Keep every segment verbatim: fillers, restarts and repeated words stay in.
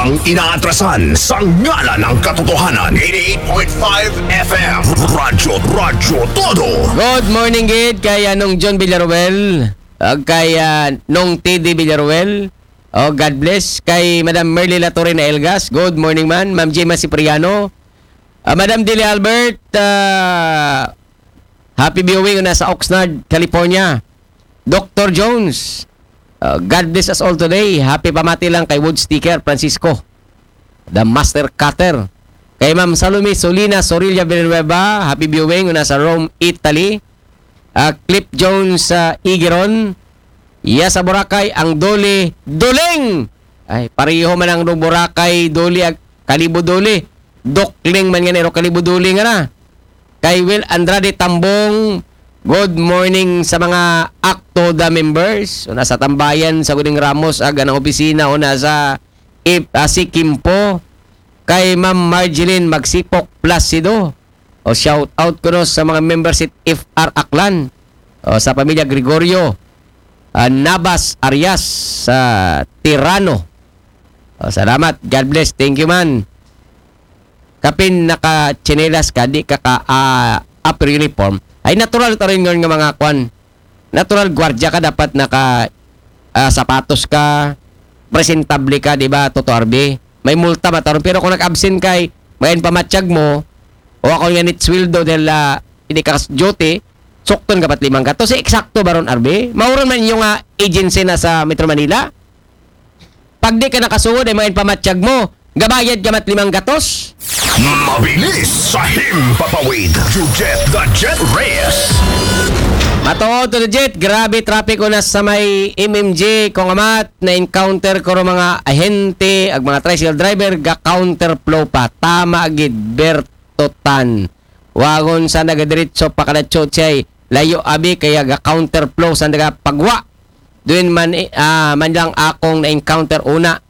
Ang inaatrasan sa ngalan ng katotohanan. Eighty-eight point five F M. Radyo, Radyo Todo. Good morning gid kay Anong John Villaruel, ug kay ah, Nong T D Villaruel. Oh, God bless kay Madam Merly Latorre na Elgas. Good morning man, Ma'am Gemma Cipriano. Ah, Madam Dili Albert, ah, happy viewing na sa Oxnard, California. Doctor Jones, ah, God bless us all today. Happy pamati lang kay Wood Sticker Francisco, the master cutter. Kay Ma'am Salome Solina Sorilla Villanueva, happy viewing na sa Rome, Italy. Ah, Cliff Jones sa Igiron. Iya sa Boracay, ang Dole, Duling! Ay, pareho man ang Boracay, Dole, ag Kalibo Dole. Dokling man nga nero Kalibo Dole nga na. Kay Will Andrade Tambong, good morning sa mga ACTODA members. Una sa Tambayan, sa Guding Ramos, aga ng opisina, una sa Ip, ah, si Kimpo. Kay Ma'am Marjeline Magsipok Placido. O shout out ko no sa mga member sa F R Aklan. O sa pamilya Gregorio. Ah, Nabas Arias sa Tirano. O, salamat. God bless. Thank you man. Kapin naka-tsinelas ka, di ka ka ah, upper uniform. Ay natural ta rin yun nga mga kwan. Natural gwardiya ka, dapat naka ah, sapatos ka, presentable ka, di ba, Toto R B? May multa mataron. Pero kung nag-absent kay, mayan pamatyag mo, o ako nga nit sweldo dahil ah, hindi ka duty, sukton ka pat limang gatos. Eh, eksakto ba ron, R B? Mauron man yung ah, agency na sa Metro Manila? Pag di ka nakasuod, ay mayan pamatyag mo, gabayad ka mat limang gatos? Mabilis sa himpapawid. You get the Jet Reyes. Matuod to the Jet, grabe traffic una sa may M M G, kung amat, na-encounter ko ro mga ahente, ag mga tricycle driver, ga counterflow pa. Tama gid, Bertotan. Wagon sa nagadiritso pa kada chochay, layo abi kaya ga counterflow sa nagapagwa. Doon man, eh, ah, man lang akong na-encounter una.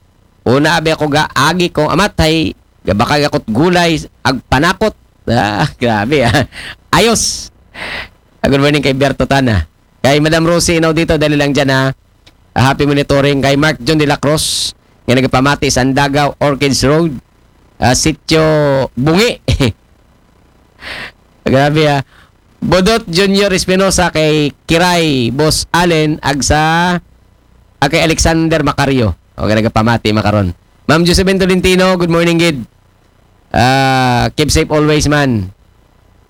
Una abi ako ga agi kong amatay, gabakag ako't gulay, ag panakot. Ah, grabe ah. Ayos. Ah, good morning kay Berto Tana. Kay Madam Rosie Inaw dito, dali lang dyan ha. Ah, happy monitoring kay Mark John de la Cruz, nga nagpamati sa Andagaw, Orchids Road, ah, Sitio Bungi. Grabe ah. Bodot Junior Espinosa kay Kiray, Boss Allen, agsa, ah, kay Alexander Macario. O, nagpamati makaron. Ma'am Josephine Tolentino, good morning gid. Ah, keep safe always man.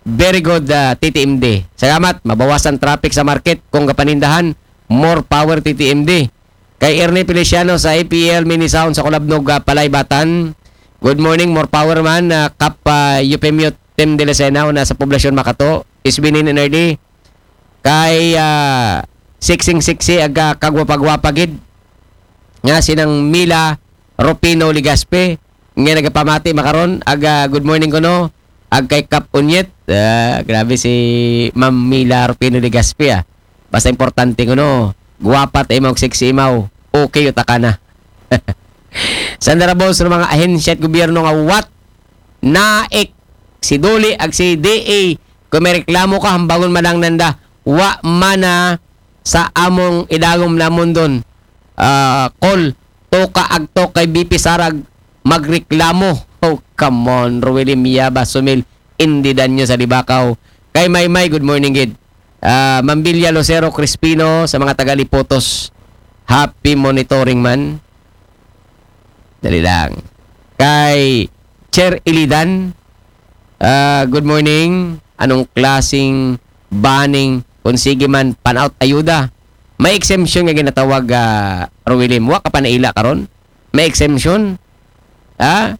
Very good, ah, T T M D. Salamat, mabawasan traffic sa market kung kapanindahan. More power T T M D. Kay Ernie Feliciano sa A P L Mini Sound sa Kulabnog, ah, Palaybatan. Good morning, more power man. Ah, Kap, ah, Eufemio Tim de Lucena, una sa Poblasyon Makato. Isbinin N R D. Kay ah, Siksing Siksi, aga kagwapagwapa gid. Nga sinang Mila Rupino Ligaspe. Nga nagapamati makaron, aga good morning kuno. Ag kay Kap Unyet. Ah, grabe si Ma'am Mila Rupino Ligaspe ah. Basta importante kuno. Guwapa ta imaw, sexy imaw. Okay, utaka na. Sandara boss, ng mga ahensya at gobyerno nga what? Naik, si Duli, ag si D A, kung may reklamo ka, hambangon man lang nanda, wa mana sa among idagom namon doon. Ah, call, toka agto kay B P Sarag, magreklamo. Oh, come on, Ruelim Yaba Sumil, hindi danyo sa Libakaw. Kay Maymay, good morning, gid. Ah, Mambilya Lucero Crispino, sa mga taga Lipotos, happy monitoring man. Dali lang. Kay Cher Ilidan, ah, good morning. Anong klaseng banning kung sige man pan-out ayuda? May exemption nga ginatawag, ah, Ruelim. Wa ka pa naila karon? May exemption? Ha?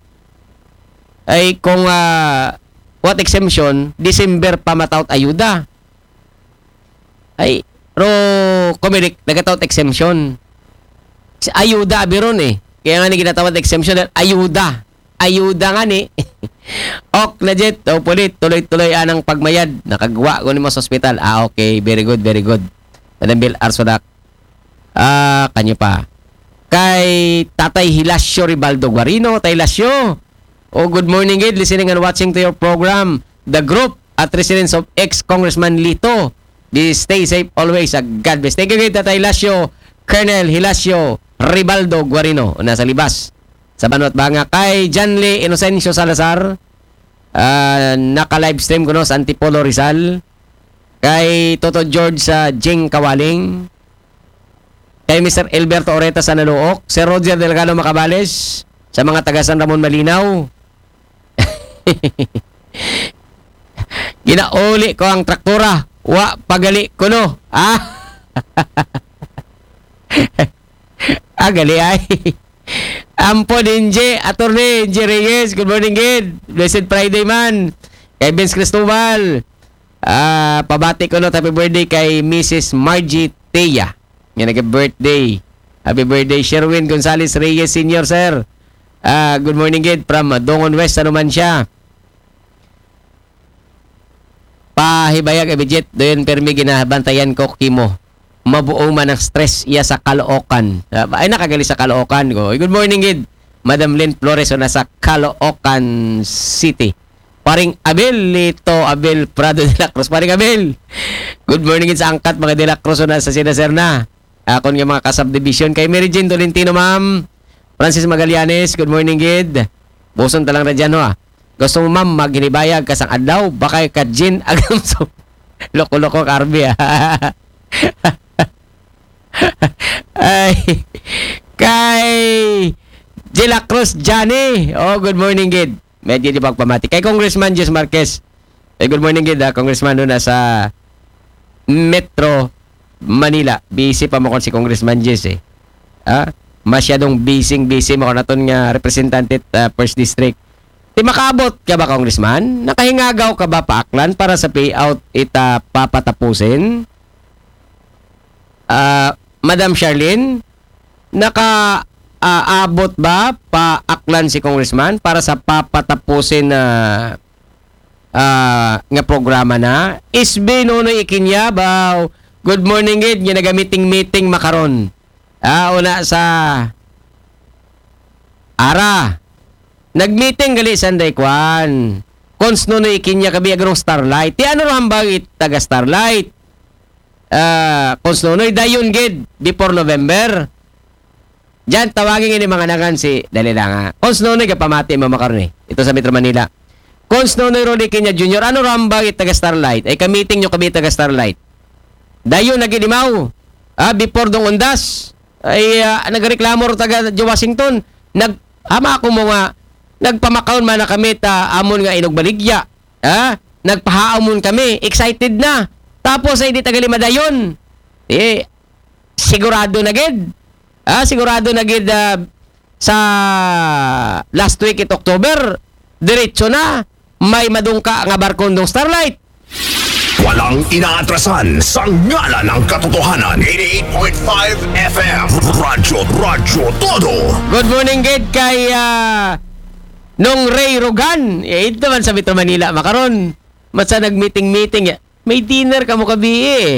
Ay kung ah, what exemption? December pa mataot ayuda. Ay, ro, Comelec, nagataot exemption. Si ayuda, abi ron eh. Kaya nga ni ginatawag exemption dahil ayuda. Ayuda nga ni. Ok na jet, hopefully, tuloy-tuloy anang pagmayad. Nakagwa ko ni mo sa ospital. Ah, okay. Very good, very good. Madam Bill Arsodak. Ah, kanyo pa. Kay Tatay Hilasio Ribaldo Guarino. Tatay Hilasio. Oh, good morning, gid. Listening and watching to your program. The group at residents of ex-Congressman Lito. Be stay safe always. Ah, God bless. Thank you, gid, Tatay Hilasio. Colonel Hilasio Ribaldo Guarino. Nasa Libas. Sa banwat banga kay Janly Inocencio Salazar, ah, naka-livestream kuno sa Antipolo, Rizal. Kay Toto George sa Jing Kawaling. Kay Mister Elberto Oreta sa Naluok. Sir Roger Delgado Macabales sa mga taga San Ramon Malinaw. Ginauli ko ang traktura. Wa pagali kuno. Ah? Ah, gali ay. Ampo din J, Attorney J Reyes. Good morning, gid. Blessed Friday man. Kay Vince Cristobal. Ah, pabati kuno, happy birthday kay Missus Margie Tia. Nga nag-birthday. Happy birthday, Sherwin Gonzalez Reyes Senior, sir. Ah, good morning, gid, from Dongon West, Numancia. Pahibayag, Abidjet, doon permi ginabantayan ko kimo. Mabuo man ang stress iya sa Caloocan. Ah, ay, nakagali sa Caloocan ko. Good morning, gid. Madam Lynn Flores, o nasa Caloocan City. Paring Abel, Lito Abel Prado de la Cruz. Paring Abel, good morning, gid, sa angkat, mga de la Cruz, o nasa sina sir na. Akon nga mga ka-subdivision. Kay Mary Jane Tolentino, ma'am. Francis Magallanes, good morning, gid. Buson ta lang ra dyan, ho, ah. Gusto mo, ma'am, maghinibayag ka sang adlaw? Baka ka Jean Agamso. Loko-loko, Carby, ah. Ay, kay Jela Cruz Johnny. Oh, good morning, gid. Medyo di pagpamati. Kay Congressman Jess Marquez. Eh, good morning, gid, ah, Congressman, doon sa Metro Manila. Busy pa mo kon si Congressman Jess, eh. Ah, masyadong busy, busy mo kon aton nga representante, ah, First District. Ti makaabot ka ba, Congressman? Nakahingagaw ka ba pa Aklan para sa payout ita papatapusin? Ah, Madam Charlene, naka, ah, abot ba pa Aklan si Congressman para sa papatapusin na, ah, nga programa na? S B Nonoy Ikinya, baw. Good morning, gid. Nga naga-meeting-meeting makaron. Ah, una sa Ara. Nag-meeting gali sanday kwan. Cons Nonoy Ikinya kabi agron Starlight. Ti ano ra hambal it taga Starlight? Ah, Cons Nonoy, dayon, gid, before November. Diyan, tawagin ini mga nangan si, dali lang, ha. Cons Nonoy, kapamati mo makaron, eh. Ito sa Metro Manila. Cons Nonoy Rolly Ikinya Junior, ano ra hambal it taga Starlight? Ay, ka-meeting nyo kabi taga Starlight. Dayon, nagidimaw. Ah, before dong undas. Ay, ah, nagreklamo ro taga Washington. Nag, hama ako mo nga, nagpamakaon man na kami ta amon nga inugbaligya. Ah, nagpahaamon kami. Excited na. Tapos ay di tagali madayon. Eh, sigurado na gid. Ah, sigurado na gid, ah, sa last week it October, diretso na. May madungka nga barkon dong Starlight. Walang inaatrasan sa ngalan ng katotohanan. Eighty-eight point five F M. Radyo, Radyo Todo. Good morning, gid, kay, ah, Nong Ray Rogan. Eh, ito man sa Metro Manila makaron. Matsa nag-meeting-meeting. May dinner kamo kabi, eh.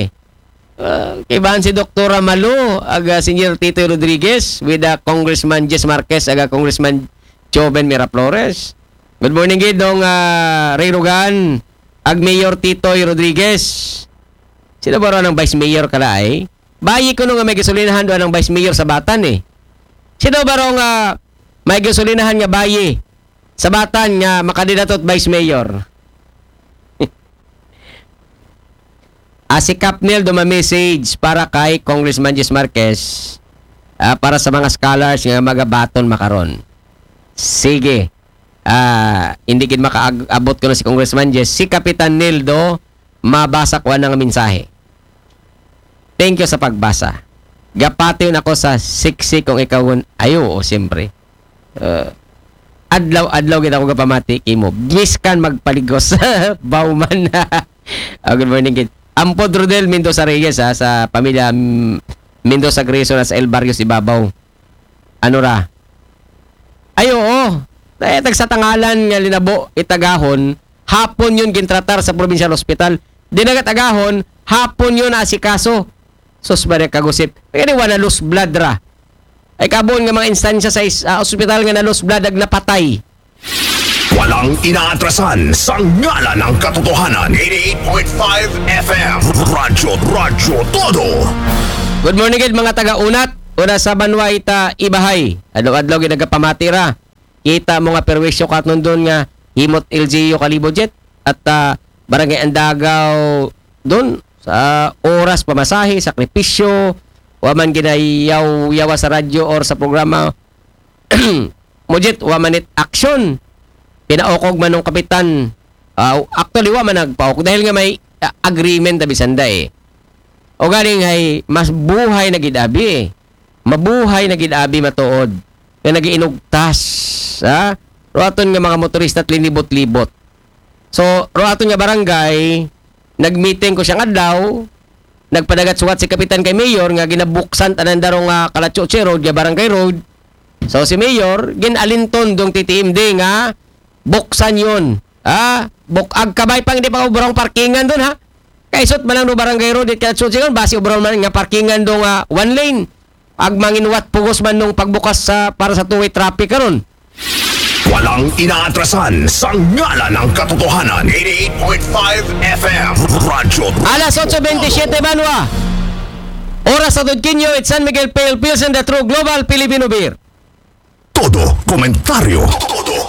Ah, kay bahan si Doktora Malo, aga Senior Titoy Rodriguez, with, ah, Congressman Jess Marquez, aga Congressman Joven Miraflores. Good morning, gid, Nong, ah, Ray Rogan, ag Mayor Titoy Rodriguez. Sino ba raw ng Vice Mayor kala ay? Bayi ko nung may gasolinahan doon ng Vice Mayor sa Batan, eh. Sino ba raw nga may gasolinahan nga bayi sa Batan nga makadidatot Vice Mayor? Ah, si Capnel duma-message para kay Congressman Jis Marquez, ah, para sa mga scholars nga magabaton makaron. Sige. Ah, hindi gid makaabot ko na si Congressman Jis. Si Kapitan Nildo, mabasa ko ang mensahe. Thank you sa pagbasa. Gapati na ako sa siksi kung ikaw un-, ay, oo, siyempre. Ah, adlaw-adlaw gid ako gapamati kimo. Miskan magpaligos. Bauman. Ah, good morning, kid. Ampod Rodel Mendoza Reyes, ha, sa pamilya, mm, Mendoza Grayson, sa El Barrios, Ibabaw. Ano ra? Ay, oo. Eh, tagsa tangalan nga linabo, itagahon, hapon yun gintratar sa provincial hospital. Di nagatagahon, hapon yun asikaso. Sus, ba kagusip? Kaya di wala loose blood ra. Ay, kabon nga mga instansya sa is-, ah, ospital nga na-loose blood ag napatay. Walang inaatrasan sa ngalan ng katotohanan. Eighty-eight point five F M. Radyo, Radyo Todo. Good morning, gid, mga taga-Unat. Una sa banwa ita Ibahay. Adlaw-adlaw ginagapamati ra. Kita mo nga perwisyo katnon doon nga himot L G U kalibot jet at ah, Barangay Andagaw doon sa oras pamasahe, sakripisyo, wa man ginayaw-yawa sa radyo or sa programa. Mo jet, wa man it action. Pinaukog man nung kapitan. Ah, actually, wa man nagpaukog dahil nga may ah, agreement na bisanda eh. O galing ay mas buhay na gid abi eh. Mabuhay na gid abi matuod nga nagiinugtas, ha? Ruaton nga mga motorista at linibot-libot. So, ruaton nga barangay, nagmeeting ko siyang adlaw, nagpadagat suwat si kapitan kay mayor nga ginabuksan tanan darong nga Kalachuchi Road, nga barangay road. So, si mayor, ginalinton dong T T M D nga buksan yon. Ah, buk ag kabay pang di pa obrang parkingan doon ha. Kaisot man lang do barangay road it Kalachuchi Road, basi obrang man nga parkingan do nga one lane. Ag manginwat pugos man nung pagbukas sa para sa two-way traffic karon. Walang inaatrasan sa ngalan ng katotohanan. eighty-eight point five F M Radyo. Alas otso bentisiete banwa. Oras sa Tudkinyo, it's San Miguel Pale Pilsen, the true global Filipino beer. Todo komentaryo. Todo